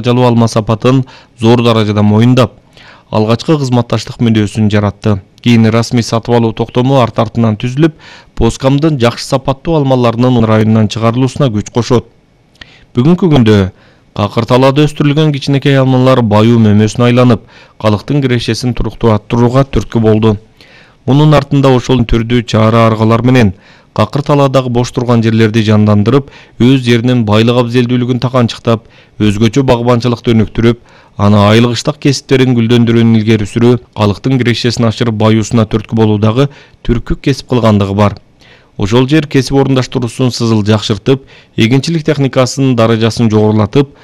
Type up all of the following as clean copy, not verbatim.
жалуу алма сапатын зор даражада моюндап, алгачкы кызматташтык мүнөзүн жаратты. Кийин расмий сатып алуу токтому арт-артынан түзүлүп, Поскамдын жакшы сапаттуу алмаларынын районунан чыгарылуусуна күч кошот. Бүгүнкү күндө Какыр талаада өстүрүлгөн кичинекей алмалар баюу мөмөсүн айланып, калктын кирешесин туруктууга түрткү болду. Мунун артында ошол түрдүү чара аргалар менен Какыр талаадагы бош турган жерлерди жандандырып, өз жеринин байлык абзелдүүлүгүн таканчыктап, өзгөчө багбанчылыкты өнүктүрүп, аны айылгыштык кесиптерин гүлдөндүрүүнү илгери сүрүү, калктын кирешесин ашырып баюусуна түрткү болуудагы түркүк кесип кылгандыгы бар. Ошол жер кесип орундаштыруусун сызыл жакшыртып, эгинчилик техникасынын даражасын жогорулатып,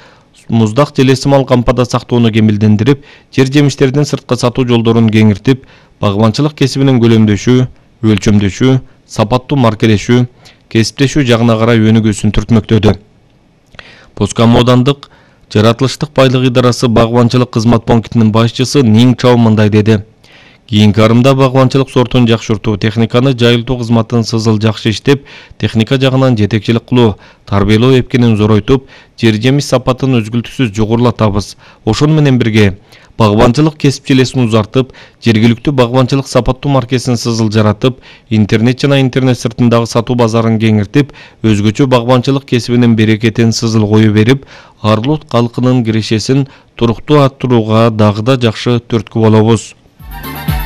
муздак желесимал кампада сактоону кемилдендирип, жер жемиштердин сыртка сатуу жолдорун кеңиртип, багбанчылык кесибинин көлөмдөшүү, өлчөмдөшүү, сапаттуу маркелешүү, кесиптешүү жагына карай өнүгүүсүн түртмөктөдү. Поскам аудандык жаратылыштык байлык идарасы багбанчылык кызмат пунктинин башчысы Ниң Чао мындай деди. Кийинки арымда багбанчылык сортун жакшыртуу, техниканы жайылтуу кызматын сызыл жакшы иштеп, техника жагынан жетекчилик кылуу, тарбиялоо эпкенин зоройтуп, жер жемиш сапатын өзгүлтүксүз жогорулатабыз. Ошону менен бирге багбанчылык кесип желесин узартып, жергиликтүү багбанчылык сапаттуу маркесин сызыл жаратып, интернет жана интернет сыртындагы сатуу базарын кеңиртип, өзгөчө багбанчылык кесибинин берекетин сызыл кою берип, Арлут калкынын кирешесин туруктуу арттырууга дагы да жакшы түрткү болобуз.